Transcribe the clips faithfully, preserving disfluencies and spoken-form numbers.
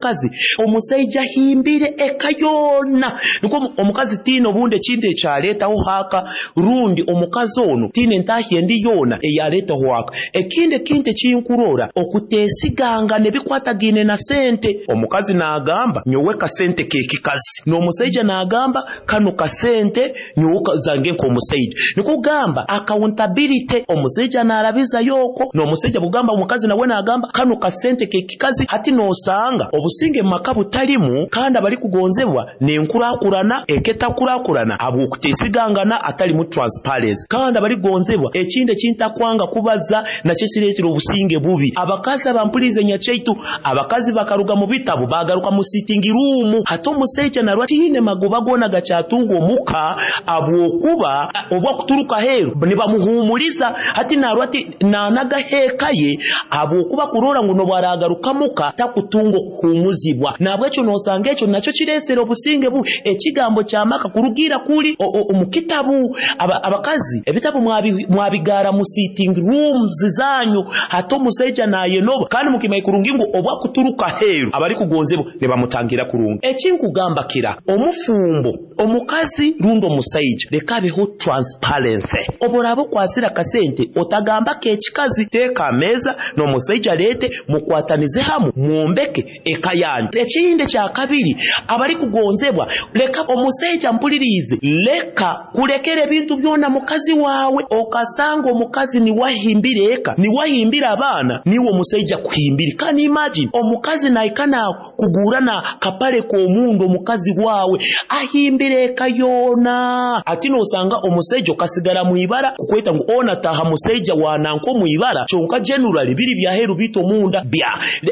Omukazi, omusaija ahimbire eka yoona, nikwo omukazi tiina obundi ekintu ekyaleetaho aka, rundi omukazi onu tiina entahya endi yoona eyaleetaho aka. Ekindi ekintu ekinkurora, okuteesigangana ebikwatagaine na sente. Omukazi naagamba nyowe kasente k'ekikazi, n'omusaija naagamba kanu kasente nyowe zange nk'omusaija. Nukwo kugamba accountability, omusaija naarabizayo okwo, n'omusaija kugamba omukazi nawe naagamba kanu kasente k'ekikazi. Hati noosanga obusinge mu maka butalimu, kandi abarikugonzebwa n'enkurakurana eka etakurakurana habw'okuteesigangana, atalimu transparency. Kandi abarikugonzebwa, ekindi ekintakwanga kubaza nakyo ekireetera obusinge bubi, abakazi abampuliriize nyakyaitu, abakazi bakaruga mu bitabu baagaruka mu sitting room. Hati omusaija narora tiine magoba goona gakyatunga omuka, habwokuba obu akuturuka aheeru nibamuhuumuliza. Hati narora ati naanagaho eka ye, habwokuba kurora ngu n'obu araagaruka muka takutunga okuhuumuzibwa. Nahabwekyo noosanga ekyo nakyo kireesere obusinge bubi. Ekigambo ky'amaka kurugiira kuli omu kitabu, abakazi ebitabu mwabigaara mu sitting rooms zanyu. Hati omusaija naayenoba, kandi mukimanye kurungi ngu obu akuturuka aheeru, abarikugonzebwa nibamutangira kurungi. Ekinkugamba kira, omufumbo omukazi rundi omusaija, leka habeho transparency. Obu oraaba okwasire akasente, otagamba k'ekikazi, teeka ha meeza n'omusaija aleete, mukwatanize hamu mwombeke eka yanyu. Ekindi ekyakabiri, abarikugonzebwa, leka omusaija mpuliriize, leka kulekera ebintu byona mukazi waawe, okasanga omukazi niwe ahimbire eka, niwe ahimbire abaana, niiwe omusaija akuhimbire. Can you imagine omukazi naahika naakugurra na kapale k'omundu, omukazi waawe ahimbire eka yoona. Hati noosanga omusaija okasigara mwibara kukweta ngu onu ataaha musaija wa nanka omwibara, kyonka generally biri byaheeru biitu omunda bya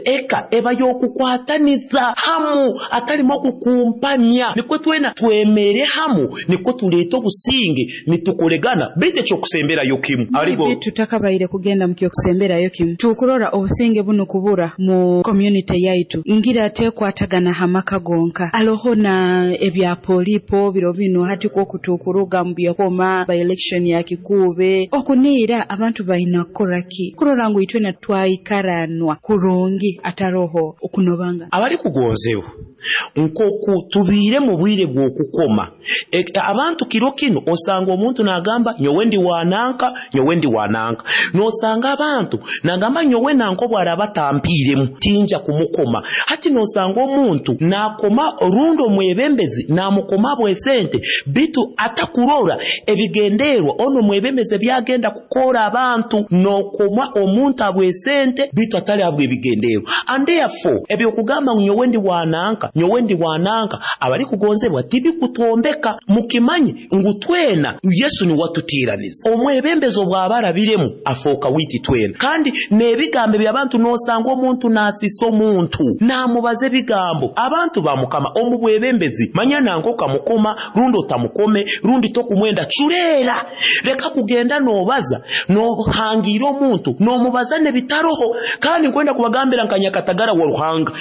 eka eba y'okukwataniza hamu, atalimu okukumpanya, nikwo twena twemere hamu, nikwo tuleete obusinge nitukolegana. Baitu ekyokusemberayo kimu, Maybe tutakabaire kugenda mu kyokusemberayo kimu, tukurora obusinge bunu kubura mu community yaitu, ngira tekwatagana ha maka gonka, aloho na ebya polipo biro binu. Hati kwoku tukuruga mu byakoma by election ya Kikuube, okuniira abantu balina kukora ki kurora ngu itwena twaikaranwa kurungi, ataroho okunobangana? Abarikugonzebwa, nk'oku tubiire mu bwire bw'okukoma e, abantu kiro kinu osanga omuntu naagamba nyowe ndi wananka, nyowe ndi wananka. Noosanga abantu nagamba nyowe nanka obu araaba atampiiremu tinja kumukoma. Hati noosanga omuntu naakoma rundi omwebembezi naamukoma bwesente, bitu atakurora ebigenderwa onu omwebembezi ebyagenda kukora abantu. Nookoma omuntu habw'esente bitu atali habw'ebigenderwa, and therefore ebyokugamba ngu nyowe ndi wananka, nyowe ndi wananka, abarikugonzebwa, tibikutombeka. Mukimanye ngu twena Yesu niwe atuteeraniza. Omwebembezi obwaba arabiremu afooka wiiti twena. Kandi n'ebigambo eby'abantu, noosanga omuntu naasisa omuntu, naamubaza ebigambo. Abantu ba Mukama, omu bwebembezi, manya nanka okamukoma rundi otamukome rundi tokumwenda, culeera, leka kugenda noobaza noohangiira omuntu, noomubaza n'ebitaroho. Kandi nkwenda kubagambira nka nyakatagara wa Ruhanga,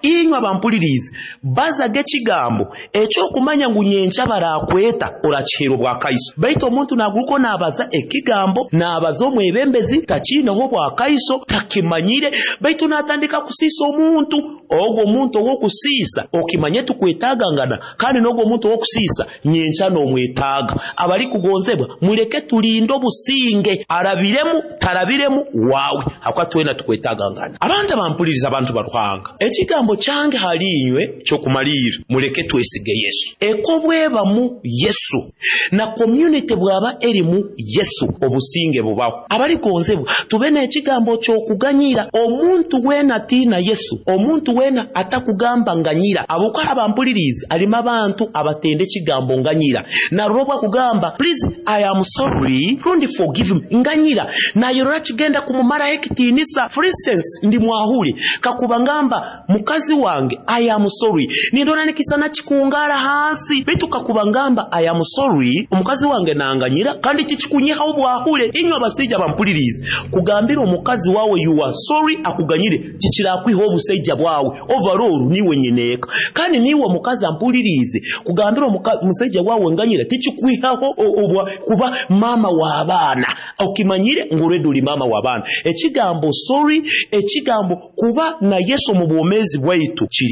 inywe abampuliriize, bazaga ekigambo ekyokumanya ngu nyenkya barakweta orakiheera obwakaiso. Baitu omuntu naguruka naabaza ekigambo, naabaza omwebembezi, takiineho obwakaiso, takimanyire, baitu naatandika kusiisa omuntu. Ogwo omuntu ow'okusiisa, okimanye tukwetaagangana, kandi n'ogwo omuntu ow'okusiisa nyenkya n'omwetaaga. Abarikugonzebwa, muleke tulinde obusinge, arabiremu tarabiremu waawe, hakuba twena tukwetaagangana. Abantu abampuliriza, abantu ba Ruhanga, ekigambo kyange hali inywe kyokumaliira, muleke twesige Yesu. Eka obwebamu Yesu na community bwaba erimu Yesu, obusinge bubaho. Abarigonzebwa, tube n'ekigambo ky'okuganyira. Omuntu weena atiina Yesu, omuntu weena atakugamba nganyira, abuka abampuliriize, alimu abantu abatenda ekigambo nganyira. Narora obwo akugamba please, I am sorry, rundi forgive me, nganyira, nayorora kigenda kumumaraho ekitiinisa. For instance, ndi mwahule, kakuba ngamba mukazi wange I am sorry, nindora nikisana kikungara hansi. Baitu kakuba ngamba I am sorry, omukazi wange nanganyira, kandi tikikunyihaho bwahule. Inywe abasajja bampuliriize, kugambira omukazi wawe you are sorry akuganyire tikirakwiha obusaija bwawe. Overall niwe nyineeka. Kandi niwe omukazi ampuliriize, kugambira omusaija wawe nganyira tikikwihaho obwa kuba mama w'abaana. Okimanyire ngu already uli mama w'abaana. Ekigambo sorry, ekigambo kuba na Yesu omu bwomeezi bwaitu kiri.